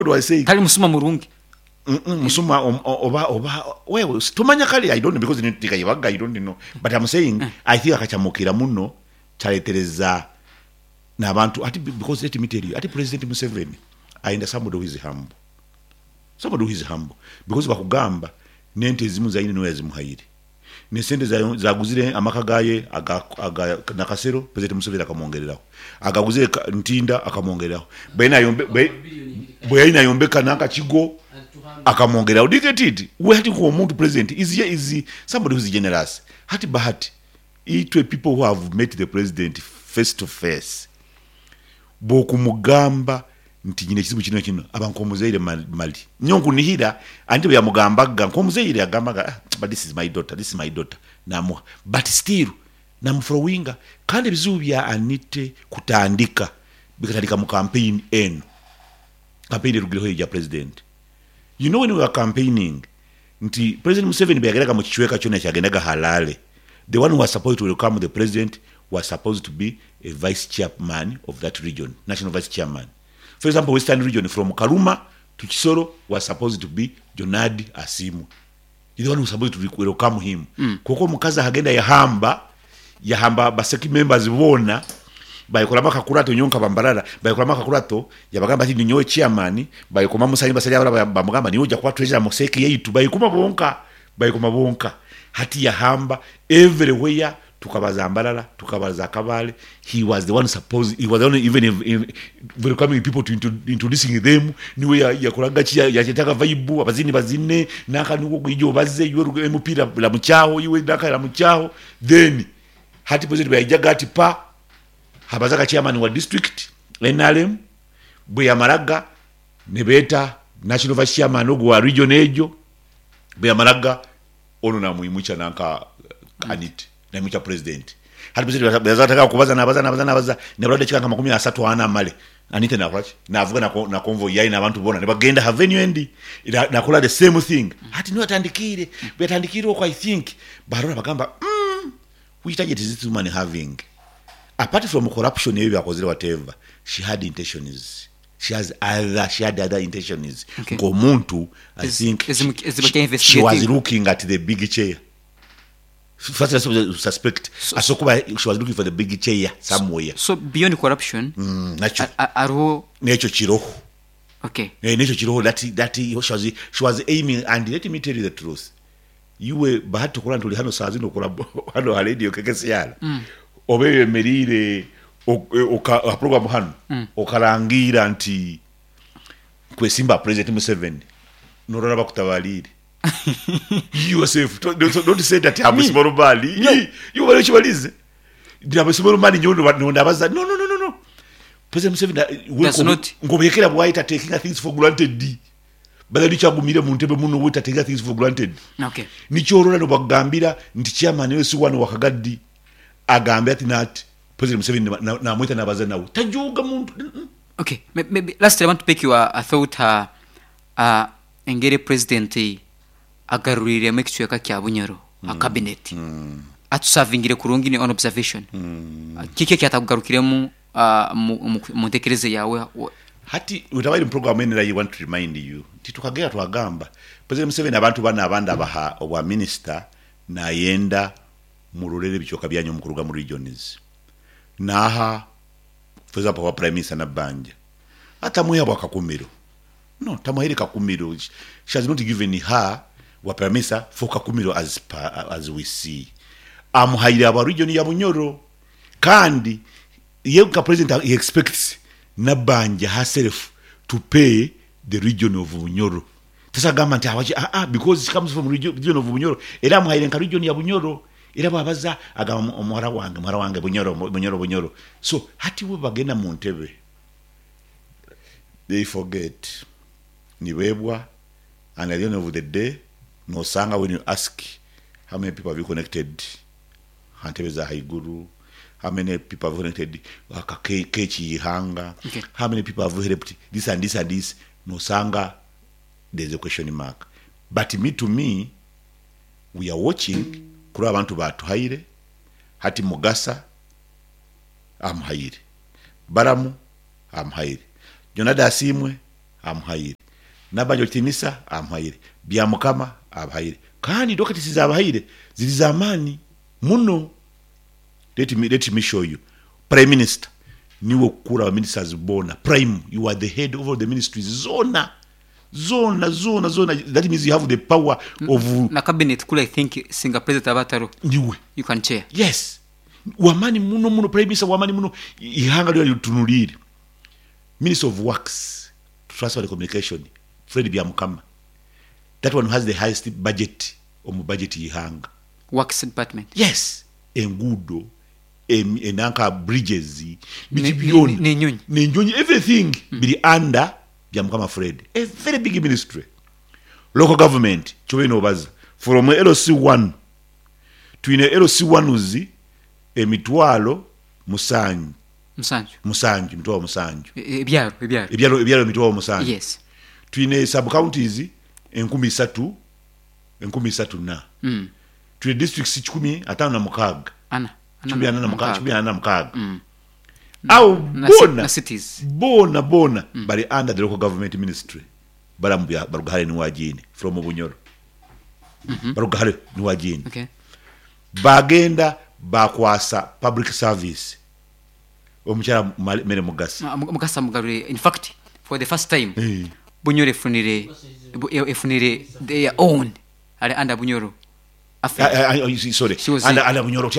Do I say? Tali musuma murungi. Musuma oba wewe tumanya kale, I don't know, because tikayibaga, I don't know, but I'm saying I think akachamukira muno kyaletereza n'abantu ati, because let me tell you, ati President Museveni ayenda somebody who is humble, somebody who is humble, because bakugamba nente ezimu zayine niwe yazimuhaire, nesente zaguzire amaka gaye aga Nakasero, President Museveni akamwongereraho, agaguzire Ntinda akamwongereraho, bwe yalina ayombeka nankakigo akamwongereraho. Do you get it? We hati omuntu president is somebody who is generous. Hati Bahati, itwe people who have met the president face to face, bwokumugamba nti nyina ekizibu kino kino, aba nkomuzaire mali nyo nkunihira anti bwe yamugambaga nkomuzaire yagambaga, "Ah, but this is my daughter, this is my daughter," namuha, but still namufollowinga. Kandi ebizibu bya Anite kutandika bikatandika mu campaign eno, campaign erugireho ya president. You know, when we were campaigning, nti President Museveni bwe yagendaga mu kicweka kyonna kyagendaga Harare, the one who was supposed to welcome the president was supposed to be a vice chairman of that region, national vice chairman. For example, Western Region, from Karuma to Kisoro, was supposed to be Jonadi Asimu, the one who was supposed to welcome him. Kuko omukazi ahagenda yahamba ba CEC members bona, bayikolamu akakurato nyonka bambarara, bayikolamu akakurato, yabagamba ati ninyowe chairman, bayikoma musanyi basajja abala bamugamba niwe ojja kuba treasurer mu CEC yaitu, bayikoma bonka, bayikoma bonka. Hati yahamba everywhere, tukabaza Mbarara, tukabaza Kabale, he was the one supposed, he was the one even if welcoming people to introducing them, niwe yakolaga ki, yachetaka vibe, abazini bazine naka niwo ijo baze iwe emupira la muchaho iwe naka la muchaho. Then hati president bwe yajaga ati pa habazaga chairman wa district NRM, bwe yamalaga ne beeta national vice chairman ogwo wa region ejo, bwe yamalaga ono namwimucha nanka Anite namwimucha president. Hati president bwe yazataka kubaza, nabaza, nabaza, nabaza, ne dakika nka 34 amale Anite nakolaki, navuga na convoy yayi n'abantu bona ne bagenda ha venue endi, nakola the same thing. Hati niwe atandikire, bwe yatandikire okwo, I think barora bagamba, which target is this woman having? Apart from corruption ebyo byakozere, whatever, she had intentions, she had other intentions. Ng'omuntu, I think she was looking at the big chair. First I suspect asokuba she was looking for the big chair somewhere. So beyond corruption, nakyo ariho nekyo kiroho. Nekyo kiroho that she was aiming. And let me tell you the truth, iwe Bahati, okola nti oli hano saa zino okola hano ha radio KKCR, oba eyemerire program hano, okarangira nti kwesimba President Museveni, norora bakutabalire yourself. Don't say that I'm a small man. You bali kibalize ndi I'm a small man nyo ndabaza. No, no, no, no, no, President Museveni Does not- ngobekera bwaita taking things for granted, badali kyagumire mu ntebe muno weta taking things for granted. Nikyolora nobagambira nti chairman wese wano wakagaddi agambe ati nati President Museveni namwita nabaza nawe tajuga muntu. Okay. Maybe lastly, I want to pick your a thought, engeri president agaruriiremu ekicweka kya Bunyoro a cabinet atusavingire kurungi ni on observation. Kiki ekyatakugarukiremu mu ntekereza yawe? Hati utabaire mu program eno, I want to remind you nti tukagera twagamba President Museveni abantu bano abandi abaha obwa minister, nayenda murorere ebicweka byanyu mukuruga mu regions. Naha, for example, wa prime minister Nabbanja, atamwiha bwa Kakumiro, no tamuhaire Kakumiro. She has not given her wa prime minister for Kakumiro as we see. Amuhaire aba region ya Bunyoro, kandi ye nka president he expects Nabbanja herself to pay the region of Bunyoro. Tasagamba nti awaki, ah, ah, because she comes from region of Bunyoro, era amuhaire nka region ya Bunyoro, era bwabaza agamba omuwala wange, muwala wange, Bunyoro, Bunyoro, Bunyoro. So hati we bagenda mu ntebe, they forget, nibebwa, and at the end of the day nosanga when you ask how many people have you connected ha ntebe za haiguru, how many people have connected kekiyihanga, how many people have helped this and this and this, nosanga there's a question mark. But me, to me, we are watching kuri abantu batuhaire. Hati Mugasa amuhaire, Baramu amuhaire, Jonada Asimwe. Amuhaire. Nabanja Okitinisa amuhaire. Byamukama abahaire. Kandi doketi z'abahaire ziri z'amaani muno. Let me, let me show you. Prime Minister niwe okukura ba ministers boona. Prime, you are the head of all the ministries zoona. Zoona, zoona, zoona. That means you have the power of. Na cabinet kule I think singa president aba ataroho. Niwe. You can chair. Yes. W'amaani muno muno, Prime Minister w'amaani muno. Eihanga lyona ritunuliire. Minister of Works, Transport and Communication, Fred Byamukama. That one has the highest budget omu budget y'eihanga. Works department. Yes, enguudo, enanka bridges, biki byona. N'enyonyi. N'enyonyi, everything biri under Byamukama Fred. A very big ministry. Local government, kyobaire nobaza, from LC one, twine LC ones emitwalo musanju. Musanju. Musanju, emitwalo musanju. Ebyaro, ebyaro. Ebyaro, ebyaro emitwalo musanju. Yes. Twine sub counties enkumi isatu, enkumi isatu na. Twine districts kikumi ataano na mukaaga. Ana. Kikumi ana na mukaaga, kikumi ana na mukaaga. Agho boona, Na cities. boona boona bali under the local government ministry. Baramu bya baruga hare ni Wagiine from Bunyoro. Baruga hare ni Wagiine. Okay. Baagenda baakwasa public service omukyala Mary Mugasa. Mugasa amugarwire. In fact, for the first time, Bunyoro efunire, efunire their own ali under Bunyoro Affairs. Sorry, She was under, under Bunyoro,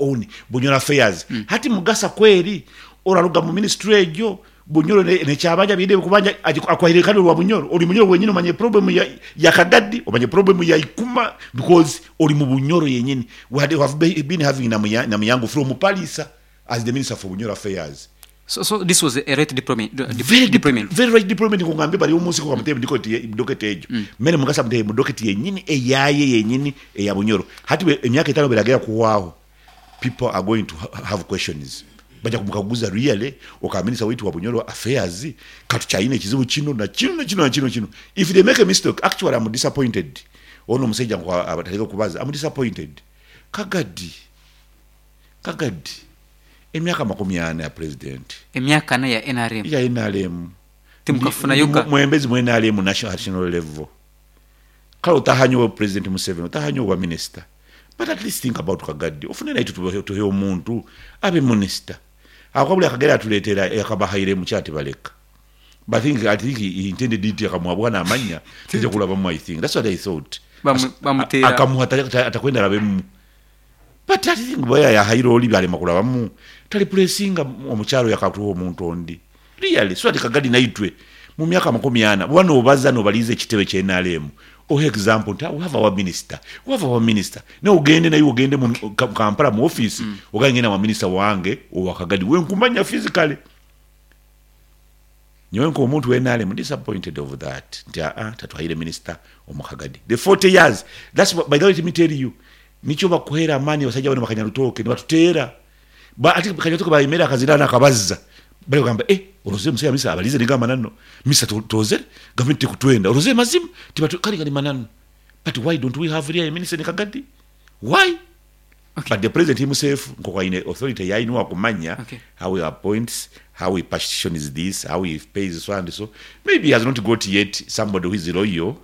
own Bunyoro Affairs. Hati Mugasa kweri oraruga mu ministry egyo Bunyoro nekyabanja bide kubanja akwahire kandi olwa Bunyoro. Oli Bunyoro wenyini omanye problem ya Kagadi, omanye problem ya Ikuma because oli mu Bunyoro yenyini. We have been having Namuyangu from Palisa as the Minister for Bunyoro Affairs. So this was a right deployment. Very deployment. Very right deployment kungambye bali omunsi ko kamutebe ndiko docket ejo. Mene Mugasa mutebe mu docket yenyini eyaye yenyini eya Bunyoro. Hati emyaka etano biragera kuwaho. People are going to have questions. Baja kumukaguza really oka minister wetu wa Bunyoro Affairs katu chaine kizibu chino na chino na chino na chino chino. If they make a mistake, actually I'm disappointed. Ono musajja ngo abataleka kubaza. I'm disappointed. Kagadi. Kagadi. Emyaka makumi ana ya president. Emyaka ana ya NRM. Ya NRM. Timukafuna yoka. Mwembezi mu NRM national level. Kale otahanyo wa President Museveni, otahanyo wa minister. But at least think about Kagadi. Ofune naitu tuhe omuntu abe minister. Akwabula akagera atuletera yakabahaire mu kyati baleka. But I think he intended it akamwabwa na amanya. Tije kulaba mu I think. That's what I thought. Bamutera. Akamuha atakwenda alabemu. But I think boya ya hairo oli byale makula bamu. Tali pressinga omukyalo yakatuwa omuntu ondi. Really, so ati Kagadi naitwe mu myaka makumi ana wano obaza nobalize ekitebe kye NRM. Oh, example, we have our minister. We have our minister. Na ogende naye ogende mu Kampala mu office, ogende na wa minister wange owa Kagadi. We nkumanya physically. Nyowe nko omuntu we NRM disappointed of that. Nti tatuhaire minister omu Kagadi. The 40 years. That's what, by the way, let me tell you. Nicho bakuhera amani basajja bano bakanyarutoke nibatuteera. Ba ati bakanyarutoke bayimera akazirana akabazza. Bali bagamba oroze musaya misa abalize nigamba nano. Misa toze government tekutwenda. Oroze mazimu tibatu kali kali manano. But why don't we have real minister in Kagadi? Why? Okay. But the president himself nkoko aine authority yainwa kumanya how he appoints, how he partitions this, how he pays so and so. Maybe he has not got yet somebody who is loyal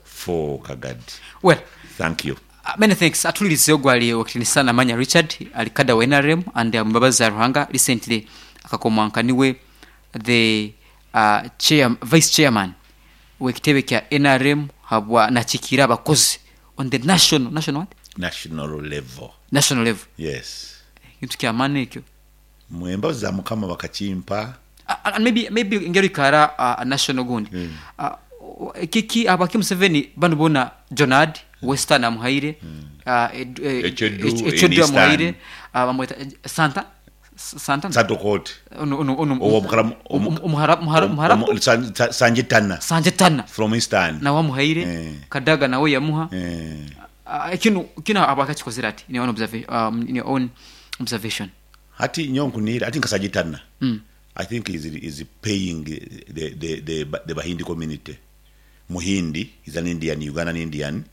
for Kagadi. Well, thank you. Many thanks. Atulirize ogwali wakitinisa Manya Richard alikada wa NRM and Mbabazi Ruhanga recently akakomwankaniwe the chair, vice chairman w'ekitebe kya NRM habwa nakikira abakozi on the national what? National level. National level. Yes. Kintu kya maani ekyo. Mwembazi za Mukama bakakimpa. And maybe ngeri kara national gundi. Kiki abaki Museveni bano bona Jonad Western amuhaire Echedu amuhaire bamweta Santa Santa Sadokot. Omuharabu Sanjetana. Sanjetana from Eastern. Na wamuhaire Kadaga nawe yamuha. Kino abakakikozera ati in your own observation, in your own observation. Hati nyonkunira ati nkasajetana. I think is paying the Bahindi community. Muhindi is an Indian, Ugandan Indian,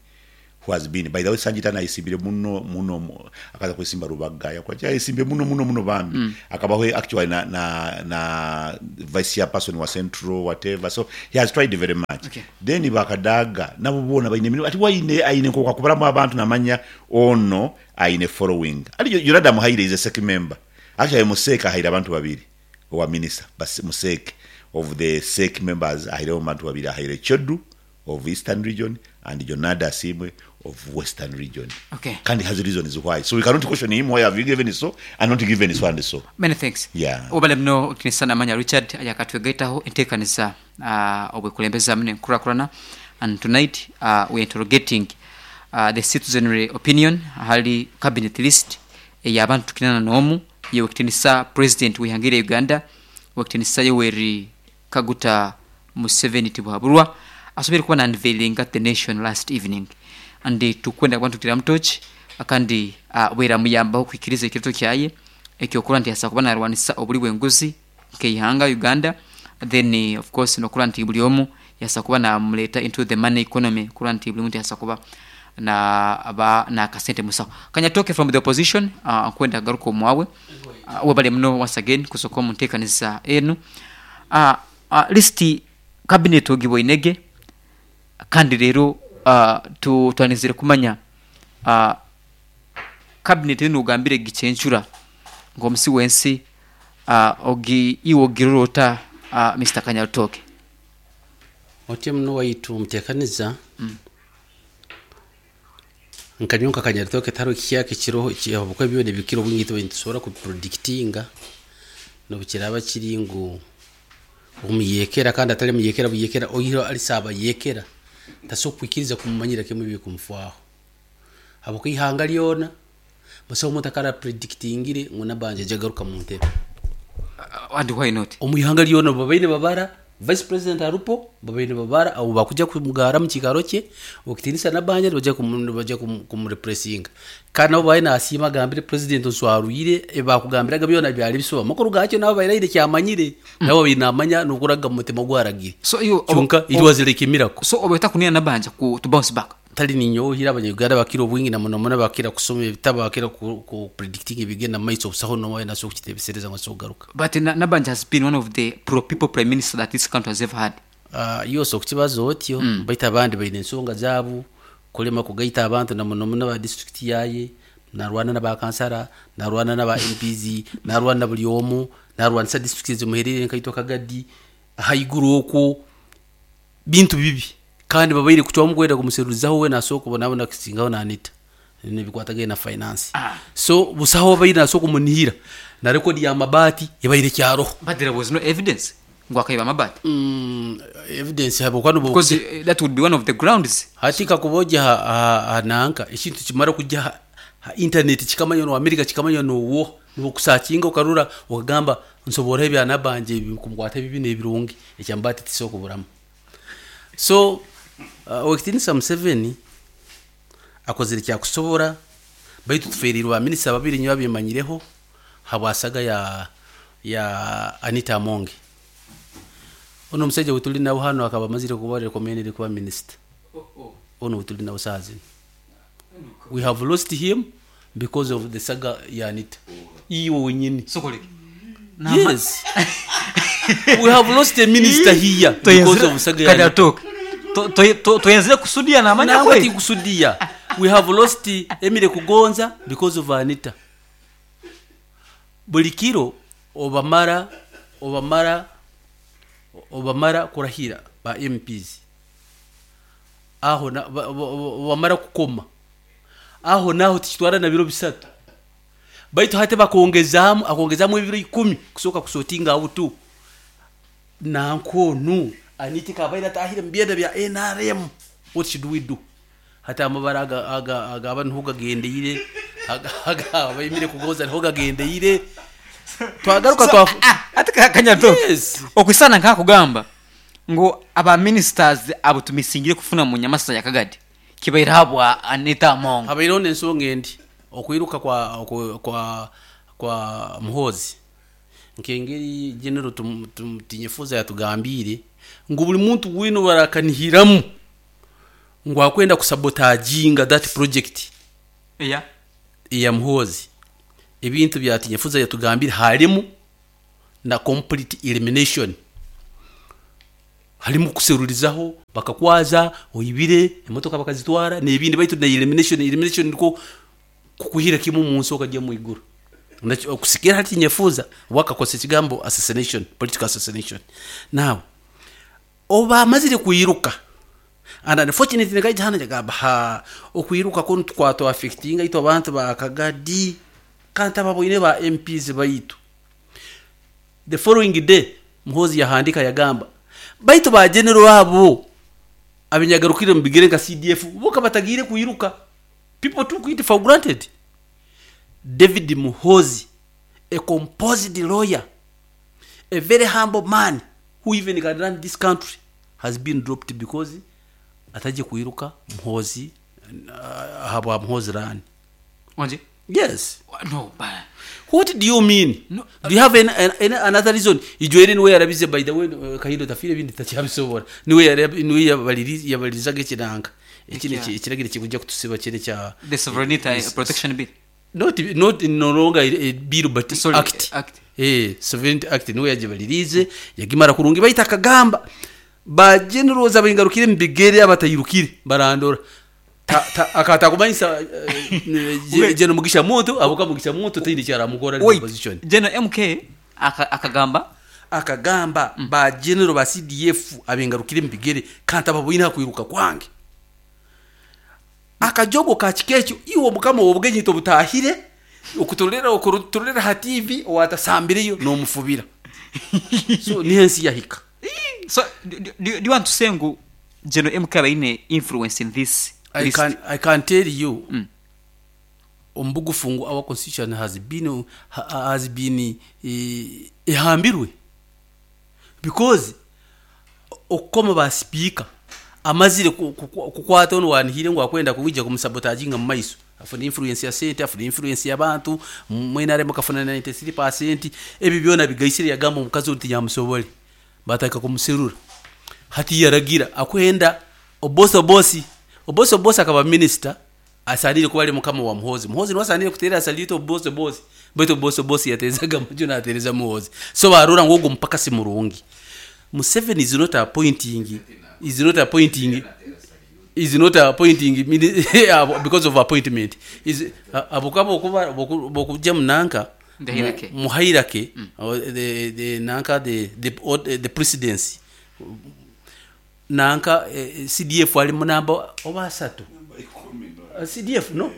Who has been, by the way, Sanjita ayesimbire muno muno akaza kwesimba Rubaga, yakola ayesimbire muno muno muno bambi. Akabaho actually na vice chairperson wa Central, whatever, so he has tried very much. Then bakadaga nabo boona baine emirimu, ati waine aine nk'okwakubaramu abantu namanya ono aine following. Ali Yonada Muhaire is a CEC member. Actually mu CEC ahaire abantu babiri owa minister, mu CEC of the CEC members ahaireho abantu babiri, ahaire Chodu of Eastern Region and Jonada Asiimwe of Western Region. Kandi has reasons why. So we cannot question him why have you given so and not given so and so. Many thanks. Yeah. Webale muno Okitinisa Namanya Richard ayakatwegaitaho enteekaniza obwekulembeza muno enkurakurana, and tonight we are interrogating the citizenry opinion ahali cabinet list ey'abantu kinana n'omu y'Owekitinisa President w'eihanga erya Uganda Owekitinisa Yoweri Kaguta Museveni Tibuhaburwa asoboire kuba na unveilinga the nation last evening, and tukwenda kuba nituteramu torch kandi bweramuyambaho kuhikiriza ekiroto kyaye ekyokurora nti asobola kuba narwanisa obuli bwenguzi nkeihanga Uganda, then of course nokurora nti buli omu yasobola kuba namuleta into the money economy, kurora nti buli muntu yasobola kuba naba nakasente musaho. Kanyatoke from the opposition, nkwenda kugaruka omwawe, webale muno once again kusoka omu ntekaniza enu. List cabinet ogiboinege kandi rero twanizire kumanya cabinet enu ogambire gicencura nk'omusi w'ensi, ogi iwe ogirora ota, Mister Kanyarutoke? Otyo muno waitu omuteekaniza. Nka nyowe nka Kanyarutoke tihariho ekihyaka ekiroho habwokuba byona ebikira obwingi itwe nitusobora kubipredictinga n'obukiraaba kiri ngu omuyekera kandi atali muyekera buyekera, oihireho ali saabayekera tasobora kwikiriza kumumanyira kimu ebikumufwaho, habwokuba ihanga lyona busaho omuntu akara predictingire ngu Nabanja aija kugaruka mu ntebe. And why not? Omu ihanga lyona babaire nibabara vice president arupo, babaire nibabara abo bakuja kumugara mu kiikaro kye okitinisa Nabanja nibaija kumureplacinga, kandi nabo babaire nasiima agambire president nswarwire ebibakugambiraga byona byali bisuba, amakuru gakyo nabo babaire aine kyamanyire, nabo babaire namanya nokuraga mumutima gwaragire. So iwe Kyonka it was like a miracle. So oba otakunira Nabanja to bounce back? Tali ninyowe hira Abanya-Uganda bakira obwingi na muno muno bakira kusoma ebitabu, bakira ku predictinga ebigenda mu maiso, busaho n'omwe aine asobora kukitebesereza ngu asobora kugaruka. But Nabanja has been one of the pro people prime minister that this country has ever had. Iwe osobola kukibaza otyo, baitu abandi baine ensonga zaabu, kulema kugaita abantu na muno muno aba district yaye, narwana na ba kansara, narwana na ba MPs, narwana na buli omu, narwanisa district ezimuhererire nkaitwe Kagadi, haiguru okwo, bintu bibi. Kandi babaire kucwamu kwenda kumuserulizaho we nasobola kubonabona kusingaho na Anita nebikwatagaine na finance. So busaho abaire nasobola kumunihira na record ya mabati ebaire ekyaroho. But there was no evidence ngu akaiba amabati. Evidence habwokuba nubwo Because that would be one of the grounds. Hati kakuba ogya ha nanka ekintu kimara kugya ha internet kikamanywa no America kikamanywa nowoha, nibakusakinga okarora okagamba nsoboraho ebya Nabanja ebi kumukwata ebibi n'ebirungi ekyamabati tikisobora kuburamu. So Owekitinisa Museveni akozire ekyakusobora, baitu tuferiirwe ba minisita babiri nyowe abimanyireho habwa saga ya Anita Amonge. Onu omusaija ou tuli nawe hanu akaba amazire kuba recommended kuba minisita. Onu ou tuli nawe saaha zinu. We have lost him because of the saga ya Anita. Iwe wenyini. Yes. We have lost a minister here because of saga ya Anita. Toyenzire kusudiya namanya Nangwa kweli. Tikusudiya. We have lost Emily Kugonza because of Anita. Buli kiro obamara kurahira ba MPs. Aho na, obamara kukoma. Aho naho tikitwara na biro bisatu. Baitu hati bakongezaamu, akongezaamu ebiro 10 kusoka kusotinga out. Nankonu Anita kabaire atahire mu byenda bya NRM. What should we do? Hati amabara aga niho gagendeire, aga abaimire Kugonza niho gagendeire. Twagaruka So, ati Kanyato. Yes. Okwisana nkakugamba ngu aba ministers abo tumisingire kufuna mu nyamasa ya Kagadi kibaire habwa Anita Among. Habaireho n'ensonga endi okwiruka kwa Muhoozi. Nkengeri General Tinyefuza yatugambire ngu buli muntu wina barakanihiramu. Ngu akwenda kusabotaginga that project eya eya Muhoozi. Ebintu bya Tinyefuza yatugambire harimu na complete elimination. Harimu kuserurizaho bakakwaza oibire emotoka bakazitwara n'ebindi, baitu na elimination. Elimination nikwo kukuhira kimu omunsi okajya omu iguru. Okusikira hati Tinyefuza wakakozesa ekigambo assassination, political assassination. Now obu bamazire kwiruka, and unfortunately nkaija hanu njagamba, ha, okwiruka kunu tukwatwa affectinga itwe abantu ba Kagadi kandi ababoine ba MPs baitu. The following day Muhoozi yahandika yagamba, baitu ba general abo abenyagarukire mu bigere nka CDF bo kabatagiire kwiruka. People took it for granted. David Muhoozi, a composed lawyer, a very humble man who even can run this country, has been dropped because atajye kwiruka Muhoozi, ahabwa Muhoozi run. Wanje? Yes. No, but What do you mean? No. Do you have any another reason? Ijwere niwe yarabize, by the way, Kahindo tafire ibindi takyabisobora. Niwe niwe yabalirizaga ekinanga. Eki ekiragiro kikujja kutusiba kiri kya The sovereignty protection bill. Not no longer a bill but Sorry, act. Act. Sovereignty act niwe yagibalirize, yagimara kurungi, baita akagamba ba generals abaingarukire mu bigere abatayirukire barandora. Akatakumanyisa General Mugisha Muntu, abuka Mugisha Muntu tindi kyaramukora ari Wait, position. General MK akagamba Akagamba ba general ba CDF abengarukire mu bigere kandi ababoine kwiruka kwange. Akajogo ka kikekyo iwo mukama obugenya tobutahire okuturolera ha TV owatasambireyo nomufubira. So niho ensi yahika. So do you want to say ngu General MK abaine influence in this list? I can tell you omubugufu ngu our constitution has been ehambirwe, because okukoma ba speaker amazire kukwata ono wanihire ngu akwenda kuwija kumusabotaginga mu maiso, afuna influence ya sente, afuna influence y'abantu mwena aremu akafuna 93%. Ebi byona bigaisire, yagamba omukazi nti nyamusobole, bataka kumuserura. Hati yaragira akwenda Oboth Oboth. Oboth Oboth akaba minister, asanire kuba ari mukama wa Muhozi. Muhozi niwe asanire kuterera salute Oboth Oboth, baitu Oboth Oboth yatezaga amaju natereza Muhozi. So barora ngu ogwo mupaka si murungi. Museveni is not appointing because of appointment is abuka bokuba bokujja munanka The hierarchy. Mu hierarchy, the nanka the presidency nanka, CDF ali munamba oba asatu. CDF, no.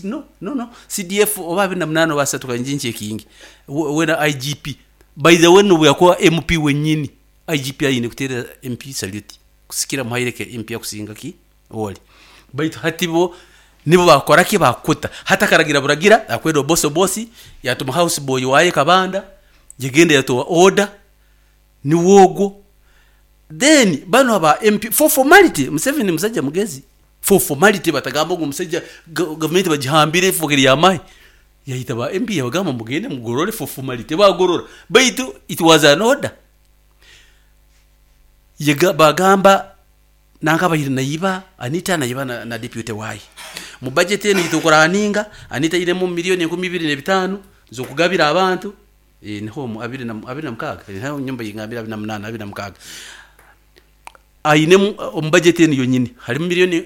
No, no, no, CDF oba 28 oba asatu, kanjinchi ekingi wena IGP, by the way, nubu yakuwa MP wenyini, IGP ayine kutera MP salute kusikira muhaireke MP akusinga ki oli. Baitu hati bo nibo bakora ki bakuta hata karagira buragira akwenda Oboth Oboth yatuma house boy waye Kabanda yegenda yatowa order niwogwo. Then bano aba MP, for formality, Museveni musajja mugezi, for formality batagamba ngo musajja gavumenti bagihambire ifokeri yamahe, yahita ba MP yabagamba mugende mugorore for formality. Bagorora, baitu it was an order. Yega bagamba nanka bahiri nayiba Anita nayiba na deputy waye mu budget eno yitokuraninga. Anita iremo miliyoni 25,000 zokugabira abantu, niho mu abiri na 26, niho nyumba yingambira 28, 26 ayinemu omu budget eno yonyini harimu miliyoni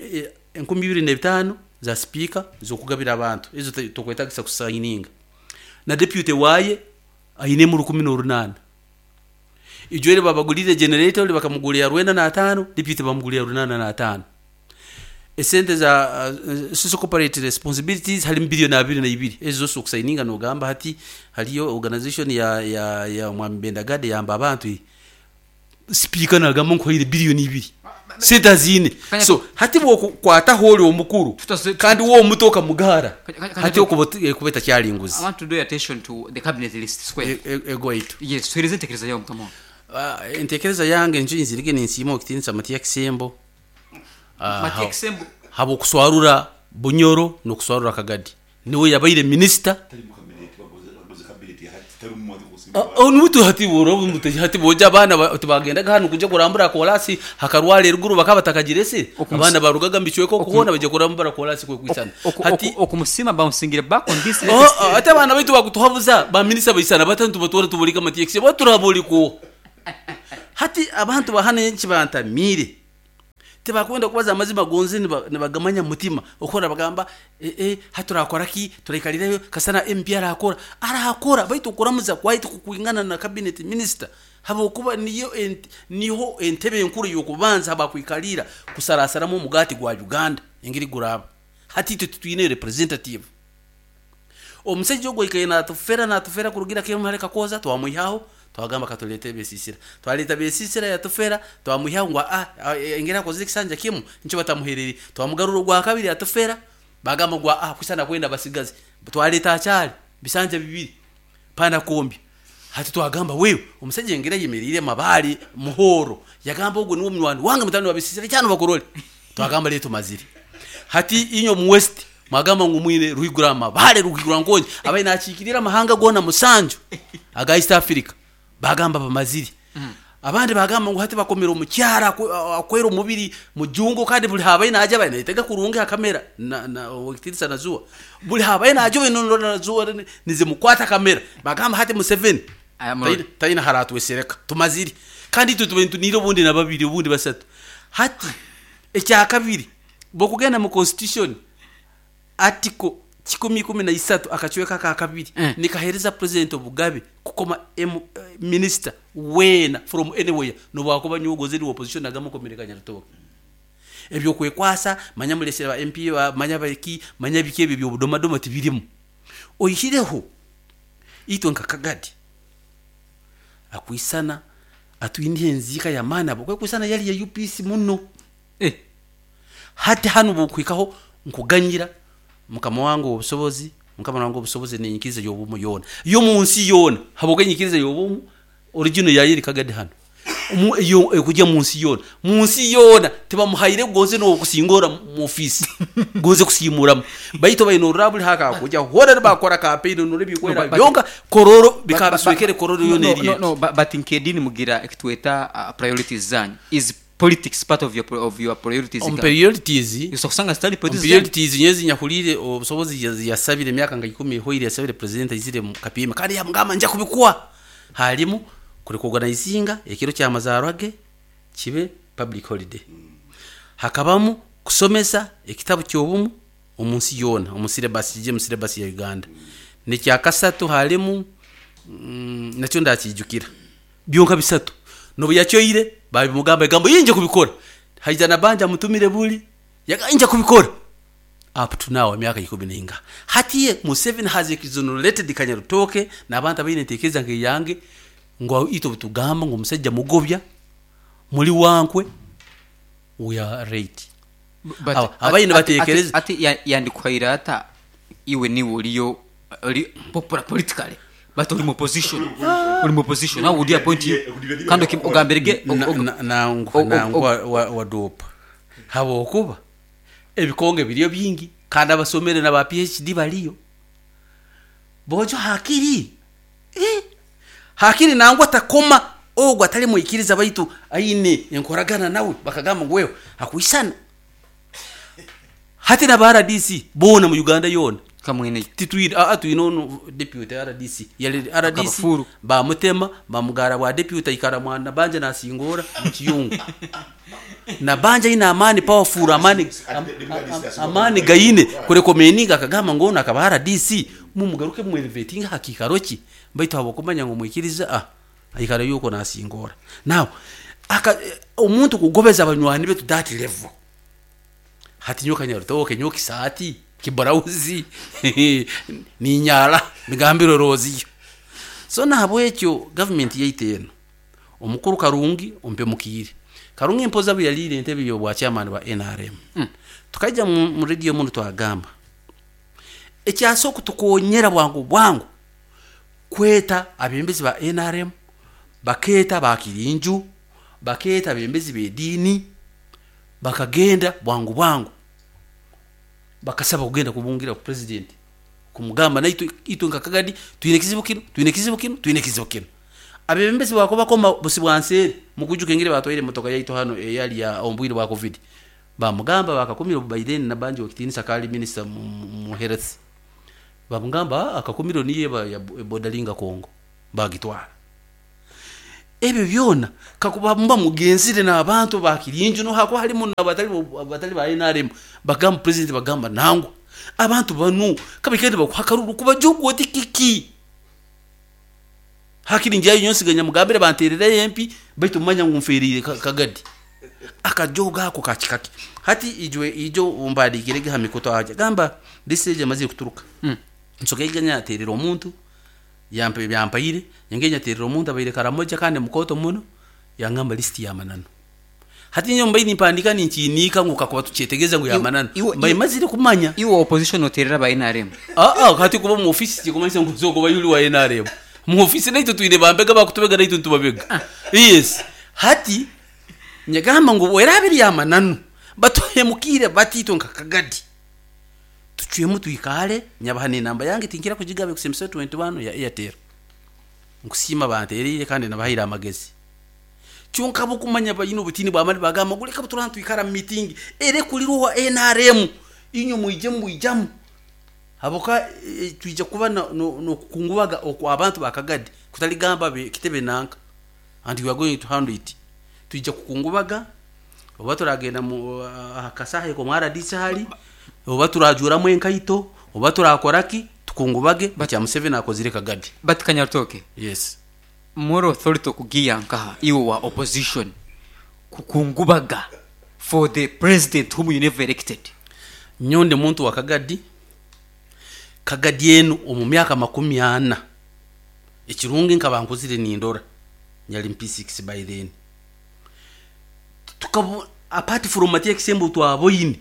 25,000 za speaker zokugabira abantu. Ezo tokwetagisa kusayininga. Na deputy waye ayinemu 18. Ijwere babagulire generator bakamugulira 95, deputy bamugulira 85. Esente za social corporate responsibilities hari biliyoni 22. Ezo zose okusayininga nogamba hati hariyo organization ya Mwami Bendagade yamba abantu. Speaker nagamba nkuhaire biliyoni 2, sente zine. So hati bwokukwataho oli omukuru kandi wo omuto okamugara, hati okuba kubeta kyalinguzi. I want to draw your attention to the cabinet list square. Egwaitu. Yes, tuhereze entekereza yawe mukama wange. Entekereza yange njo inzirige ninsiima okutinisa Matiya Kisembo. Matiya Kisembo. Habwokuswarura Bunyoro n'okuswarura Kagadi, niwe yabaire minisita. Nutu hati boro hati boja abaana tibagendaga hanu kujya kurambura kolasi hakarwara eruguru bakaba batakagirese. Abaana barugaga mbicweka okuhona bajya kurambura kolasi kwe kwisana. Hati okumusima bamusingire back on this. Ate abaana baitu bakutuhabuza ba minista baisana batanu tubatora tubolika matiyekisi baturaboliko. Hati abantu bahana enki bantamire tibakwenda kubaza amazima gonze nibagamanya mutima okora bagamba haturakora ki turaikalirayo kasana MP arakora arakora baitu okuramuza kwaitu kukwingana na cabinet minister habokuba niyo niho entebe enkuru yokubanza abakwikalira kusarasaramu omugati gwa Uganda engeri guraba. Hati itwe tutwine representative omusajja ogwo ikaye natufera kurugira kemare kakoza twamwihaho twagamba katulete besisira twaleta besisira yatufera twamwihaho ngo engera akoze kisanja kimu nico batamuhereri twamugarura gwa kabiri yatufera bagamba ngo kusana kwenda basigaze twaleta acyari bisanja bibiri pana kombi. Hati twagamba wewe omusajja engera yemerire mabali muhoro yagamba ogwo niwo munywani wange mutano wabisisira cyane bakorole twagamba leto maziri. Hati inyo mu west mwagamba ngo mwine ruhigura mabale ruhigura nkonje abaye nakikirira amahanga gona musanju aga East Africa bagamba bamaziri. Abandi bagamba ngo hati bakomera omukyara akwera omubiri mujungo kandi buli habaye naje abaye naitega kurungi kamera na wakitirisa nazuwa buli habaye naje bino nazuwa nize mukwata kamera bagamba hati Museveni tayina haratwesereka tumaziri kandi itwe tubentu niro bundi na babiri bundi basatu. Hati ekya kabiri bokugenda mu constitution article 113 akachweka ka kabiri nikahereza president obugabe kukoma minister wena from anywhere nobwakuba nyogoze ni opposition nagamo komerekanya rutoke ebyo kwekwasa manya mulesera ba MP manya baki manya biki ebyo byobudomadoma tibirimu oyihireho itwe nka Kagadi akwisana atwine enzika ya mana bwo kwisana yali ya UPC muno hati hanu bukwikaho nkuganyira mukama wangu obusobozi mukama wangu obusobozi nenyikiriza yobumu yona yo munsi yona haboke nyikiriza yobumu original yayiri Kagadi hano yo kujya munsi yona tibamuhaire gonze no kusingora mu office gonze kusimura baito bayino rabuli haka kujya hora bakora campaign no bikwera byonga kororo bikabiswekere kororo yo neri no but inkedini mugira ekitweta priorities zanyu is politics part of your priorities. On priorities usanga study politics priorities nyezi nyakulire obusobozi yasabire emyaka nga 10 hoire yasabire president izire mu kapima kandi yamugamba nja kubikuwa halimu kuri kuorganizinga ekiro kya mazarwage kibe public holiday hakabamu kusomesa ekitabu kyobumu omunsi yona omu syllabus je mu syllabus ya Uganda nekya kasatu halimu nakyo ndakijukira byonka bisatu nobu yakyoire babimugamba egambo yinje kubikora haija nabanja mutumire buli yaganja kubikora up to now emyaka 10 hatiye Museveni has exonerated Kanyarutoke n'abantu abaine ntekereza ngeyange ngo ito butugamba ngo musajja mugobya muri wankwe we are right. Abaine batekereza ati yandikwaira ata iwe ni uriyo popular politically but uri mu position uri mu position how would you appoint you kandi ogamberege nangwa wa dopa habo kuba ebikonge biriyo bingi kandi abasomere na ba PhD baliyo bojo hakiri hakiri nangwa takoma ogwa atali muikiriza baitu aine enkoragana nawe bakagamba ngo wewe akwisana hati na RDC bona mu Uganda yona kamwene titwira twino deputy RDC yali RDC ba mutema ba mugara wa deputy ikara mwana banja nasingora mu kiyungu na banja ina amani powerful amani amani gaine kurekomeninga akagamba ngo nakaba RDC mu mugaruke mu elevating hakikaroki baitu habokumanya ngo mwikiriza ikara yuko nasingora now aka omuntu kugobeza abanywani betu that level hati nyoka Nyarutoke nyoka isati kibarauzi ni nyara migambiro roziyo so nahabwekyo government yaiteno omukuru Karungi ompe mukire Karungi mpoza buyalire entebe yo bwa chairman wa NRM tukaja mu radio muno twagamba ekyaso kutukonyera bwangu bwangu kweta abembezi ba NRM baketa bakirinju baketa abembezi bedini bakagenda bwangu bwangu bakasaba kugenda kubungira ku president Kumugamba naitwe itwe nka Kagadi twine ekizibu kinu, twine ekizibu kinu, twine ekizibu kinu. Abebembezi bakobakoma busi bwanseere mukujuka engeri batwaire emotoka yaitu hano eyali ya omu bwire bwa Covid. Bamugamba bakakumira obu Biden nabanje okitinisa kali minister mu health. Bamugamba akakumiro niye ya bodalinga Congo bagitwara. Ebyo byona kakuba muba mugenzire n'abantu bakirinju no hakuba halimu n'abatali ba NRM bagamba president bagamba nangwa abantu banu kabikende bakuhakaruru kuba jogo oti kiki hakiri njayo nyonsiganya mugambire banterere empi baitu manya ngu mferire Kagadi akajoga ako kachikaki hati ijwe ijo umbadikirege ha mikoto aje gamba this age amaze kuturuka nsokeganya aterera omuntu yampe byampaire nyengenya aterera omuntu abaire Karamoja kandi mukoto muno yangamba list ya manano hati nyo mbaini mpandika ninchinika ngu kakuba tuchetegeza ngu ya manano mbaye mazire kumanya iwe opposition oterera ba NRM hati kuba mu office kikumanyisa ngu zoko bayuli wa NRM mu office naito tuine bambega bakutubega naito ntubabega yes hati nyagamba ngu werabiri ya manano batuhemukire batito nka Kagadi tuchwemu tuikale nyabahane namba yange tinkira kujigabe kusemesa 21 ya Airtel nkusima banterire kandi nabahira amagezi kyonka bukumanya bayino butini bwamali bagamba guleka buturana tuikara meeting ere kuliruwa NRM inyo muije muijamu haboka tuija kuba no kukungubaga okwa abantu bakagadi kutaligamba kitebe nanka and we are going to handle it tuija kukungubaga oba turagenda mu akasahe ko mwara disi hali oba turajuramu enkaito oba turakoraki tukungubage bacha Museveni akozire Kagadi. But Kanyaritoke, yes, moral authority okugiya nkaha iwe wa opposition kukungubaga for the president whom you never elected. Nyonde muntu wa Kagadi. Kagadi enu omu myaka 40 ekirungi nkabankuzire nindora nyali MP6 by then tukabo apart from Matia Kisembo twaboyine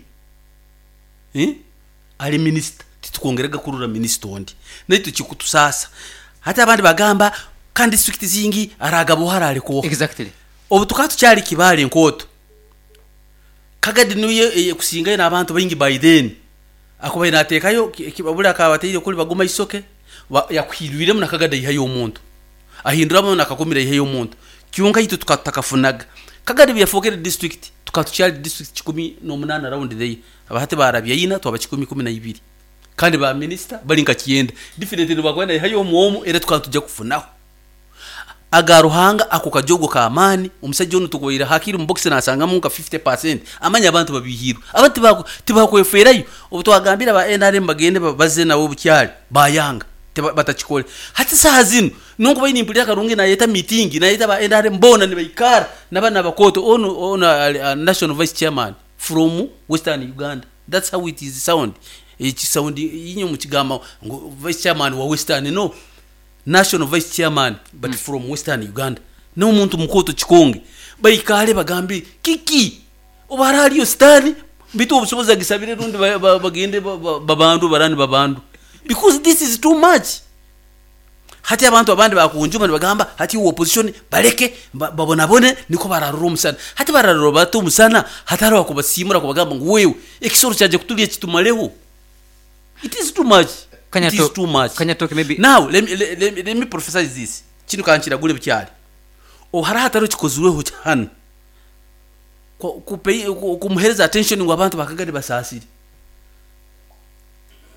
ali minister titukongerega kurura minister ondi naitu kikutusasa hata abandi bagamba kandi district zingi aragabo harale ko exactly obu tukatu cyari kibale nkoto Kagadi niye kusinga n'abantu baingi by then akubaye natekayo kibabula akabateire kuli bagoma isoke yakuhirwiremu na Kagadi ihayo omuntu ahinduramo nakakumira ihayo omuntu kyonka yitu tukatakafunaga Kagadi byafokere district tukatucyari district 18 round day abahate barabya yina twaba 12 kandi ba minister bali nka kiyenda different bakwenda ihayo omuomu era tukatujja kufunaho agaruhanga ako kajogo ka amani omusajja ono tukoira hakiri mu box nasangamu nka 50% amanya abantu babihirwa abantu bako tibakweferayo obutwagambira ba NRM bagende baze nabo bukyali bayanga batachikole hati saha zino nongo bayini mpulira karungi nayeta meeting nayeta ba NRM bona ni baikara nabana bakoto ono national vice chairman from Western Uganda. That's how it is sound echi sound inyo mukigamba vice chairman wa Western, no national vice chairman but from Western Uganda no muntu mukoto chikonge baikale bagambi kiki obaraliyo stani bitu obusoboza gisabire rundi bagende babandu barani babandu because this is too much. Hati abantu abandi bakunjuma bagamba hati opposition baleke babonabone niko bararura umusana hati bararura bato umusana hatari wakubasimura kubagamba ngo wewe ekisoro cyaje kutuliye kitumaleho. It is too much. It is too much. Kanyatoke maybe now let me prophesy this kino kanchiragule bukyali ohara hatari kikozweho cyane kumuhereza attention ngo abantu bakagari basasire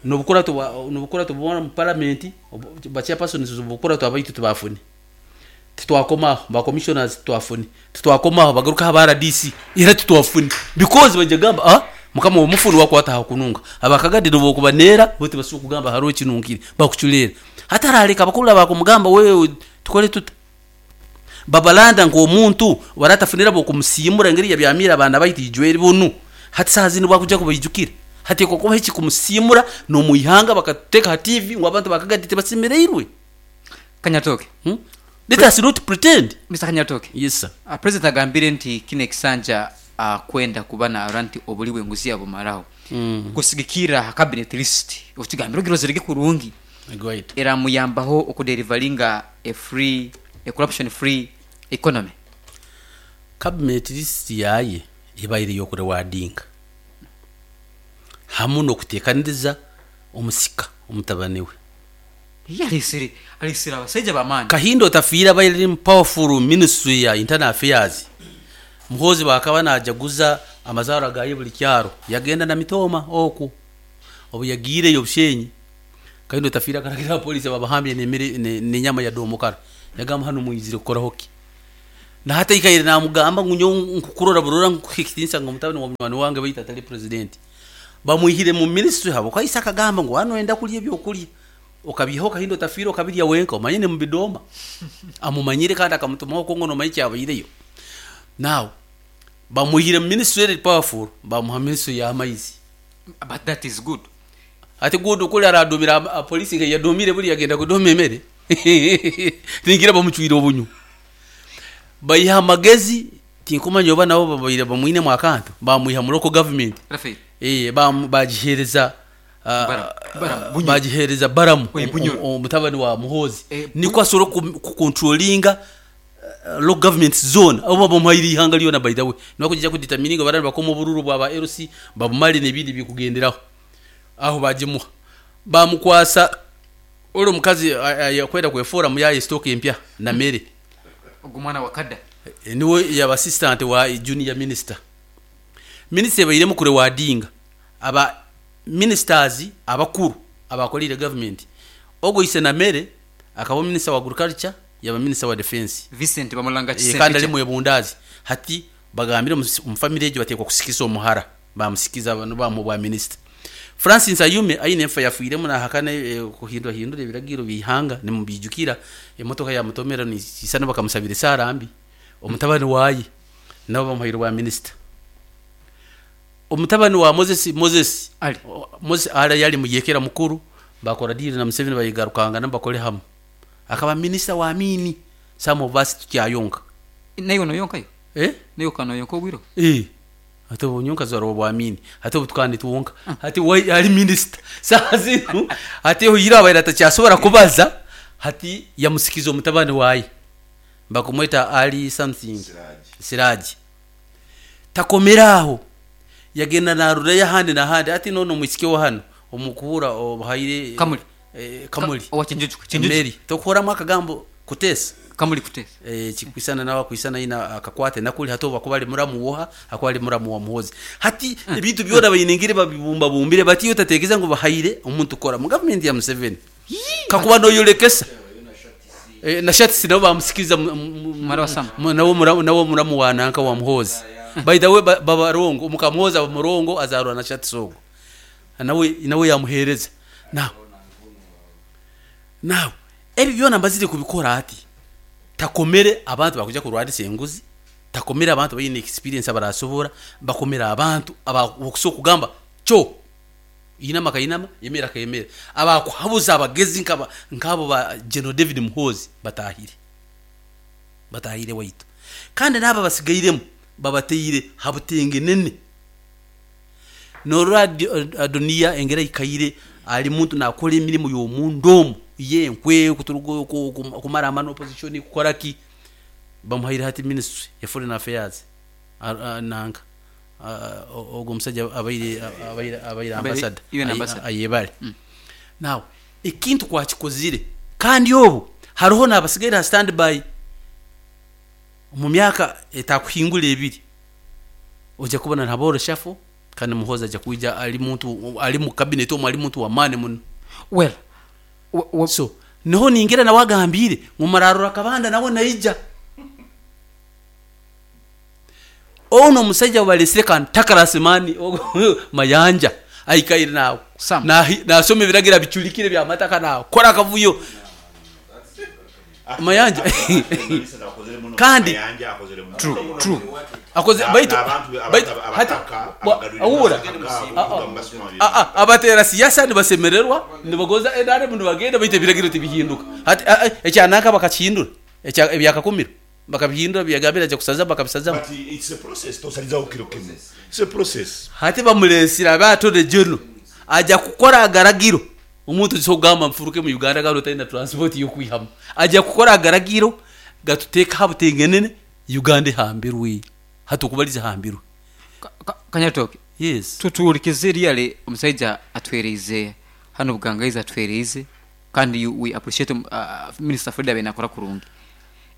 nobukora tubona mu parliament ba chairpersons bukora twabayitu tubafune titwakoma ba commissioners twafune titwakoma bagaruka ba RDC era titwafune because bajagamba mukama omufuru wakwata hakununga abakagadi no bokubanera bote basuku kugamba haro kinungire bakuchulera hataraleka bakula bakumugamba wewe tukole tuta babalanda ngo omuntu waratafunira bokumusimura ngeri ya byamira abana bayitijwere bunu hati sazi ni bakuja kubayijukira hati koko hiki kumusimura no muihanga bakateka ha TV ngo abantu bakagadi tebasimereirwe. Kanyatoke, let us not pretend. Mr. Kanyatoke. Yes sir. President agambire nti kine kisanja kwenda kubana aranti obuliwe nguzi yabo maraho kusigikira cabinet list okigambira ogirozerege kurungi right era muyambaho okuderivalinga a free a corruption free economy. Cabinet list yaye ibaire yokurewadinga hamu no kutekaniriza omusika Omutabani we. Ye alesere abasaija b'amaani. Kahinda Otafiire abaire ari powerful ministry ya internal affairs. Muhoozi bwakaba najaguza amazaarwa gaye buri kyaro, yagenda na Mitooma okwo. Obu yagiireyo Bushenyi, Kahinda Otafiire akaragira abapoliisi babahambye n'emere n'enyama ya domokara. Yagamba hanu mwizire kukoraho ki? Na hati aikaire namugamba ngu nyowe nkukurora burora nkuha ekitiinisa ngu mutabani wa munywani wange baitu atari president. Bamwihire mu ministry habwokuba ise akagamba ngu waba noyenda kurya ebyokurya okabiihaho Kahinda Otafiire okabirya wenka omanye nimubidooma. Amumanyire kandi akamutumaho okwo ngu nomanya ekyabaireyo. Now bamwihire mu ministry eri powerful bamuha ministry y'amaizi. But that is good. Hati good kuri araduumira police nka eyaduumire buri yagenda kuduuma emere ningira bamucwire obunyu. Baiha amagezi tinkumanya oba nabo babaire bamwinemu akantu bamwiha mu local government. Rafael. Bagihereza Balamu. Bagihereza Balamu, Bunyoro. Omutabani wa Muhoozi. Nikwo asobora kucontrollinga local government zona oba bamuhaire ihanga ryona by the way. Niba kugija kudetermininga baraba bakoma obururu bwa ba LC babumare n'ebindi bikugenderaho. Aho bagimuha. Bamukwasa ori omukazi yakwenda kwefoora muyaye stock empya na mere. Ogu mwana wa Kada. Niwe yaba assistant wa junior minister. Minister ebairemu kurewadinga aba ministers abakuru abakoreire government. Ogo ise na mere akaba minister wa agriculture yaba minister wa defense. Vincent bamulanga Chisempija. Kandi ari mwebundazi. Hati bagambire mu family egyo batekwa kusikiza omuhara. Bamusikiza abantu bamu bwa minister. Francis Ayume aine enfa yafuiremu nahakana kuhindura hindura ebiragiro bihanga nimubijukira emotoka ya mutomera ni isana bakamusabira sarambi. Omutabani waye nabo bamuhaire bwa minister. Omutabani wa Moses, Moses Ali. Moses Ali yali muyekera mukuru bakora deal na Museveni bayigarukanga nabakore hamwe. Akaba minister wa mini some of us tukyayonka. Nayo no yonkayo? Nayo kano yonka obwiro? Ate onyonka zaro bwa mini. Ate obutukandi tuwonka. Ate wai ali minister. Sasa zinu ate hoyira abaira atacyasobora kubaza hati yamusikiza omutabani waye. Bakumweta Ali something. Siraji. Siraji. Takomeraho. Yagenda narura yahandi na handi ati nono mwisike wa hano omukuhura obahaire Kamuli. Kamuli. Owa Chinjuju, Chinjuju. Meri. Tokuhora mwakagambo kutesa. Kamuli kutesa. Chikwisana nawa kwisana ina akakwate nakuli hatoba kuba ali muramu woha akwa ali muramu wa Muhoozi. Hati ebintu byona bayinengere babibumba bumbire bati yotatekeza ngo bahaire omuntu kora mu government ya Museveni. Kakuba no yolekesa. Na shati sinabo bamusikiza Mara wa Sam. nawo muramu, nawo muramu wa nanka wa Muhoozi. By the way, babarongo umukamuhoza bamurongo azarwa na shati sogo. Nawe, nawe yamuhereza. Now. Now, ebi byona mbazire kubikora ati takomere abantu bakuja kurwadisa enguzi, takomere abantu bayine experience abarasobora, bakomera abantu abakusoka kugamba cho inama kayinama yemera kayemera abakuhabuza abagezi nkabo ba General David Muhoozi batahire. Batahire waitu. Kandi naba basigairemu babateire habutenge nene. Norora Adonia engera ikaire ali muntu nakora emirimu y'omundomu ye nkwe kuturugo kumara amano opposition kukora ki bamuhaire hati ministry ya foreign affairs nanga ogwo musajja abaire Abaire ambassador. UN ambassador. Ayebale. Now ekintu kwakikozire kandi obu hariho nabasigaire ha standby mu myaka etakuhingura ebiri ojja kubona ntaboro shafo kandi Muhoozi ajja kuija ali muntu ali mu cabinet omu ali muntu wa mani muno. Well, so niho ningira nawe agambire mu mararura kabanda nawe naija ono musajja balesire kan takarasimani mayanja aikaire nawe. Sam. Nasoma ebiragira biculikire bya mataka nawe kora akavuyo mayanja. Kandi Mayanja akozere muno. True, true. Akoze, baitu, baitu, hati, awura. Abatera siyasa nibasemererwa, nibagoza NRM nibagenda, baitu ebiragiro tibihinduka. Hati, ekyanaka bakakihindura, ebyakakumiro. Bakabihindura, byagambira aja kusaza, bakabisaza. But it's a process, tosalizaho kiro kimwe. It's a process. Hati bamulesira abatore jono. Aja kukora agaragiro. Omuntu sogamba mfuruke mu Uganda galo tayina transport yo kwihamu. Aja kukora agaragiro gatuteka habutengenene Uganda hambirwe. Hatukubaliza hambirwe. Kanyatoke. Yes. Tutuulikize ryale omusajja atwereize Hanu Bugangaizi atuheeriize kandi we appreciate Minister Fred abaire nakora kurungi.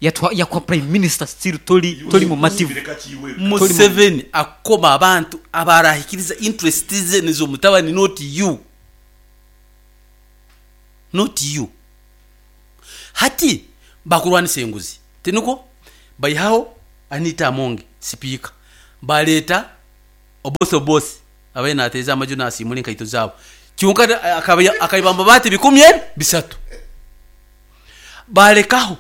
Yatuha yakuha Prime Minister still tori tori mumativu. Museveni akukoma abantu abarahikiriza interest ze nezomutabani not you. Not you. Hati bakurwanisa enguzi tinukwo? Baihaho Anita Amongi sipiika baleeta Oboth Oboth abaire nateeza amaju nasiimura enkaito zaabo kyonka akaiba amabaati bikumi ebi bisatu. Baalekaho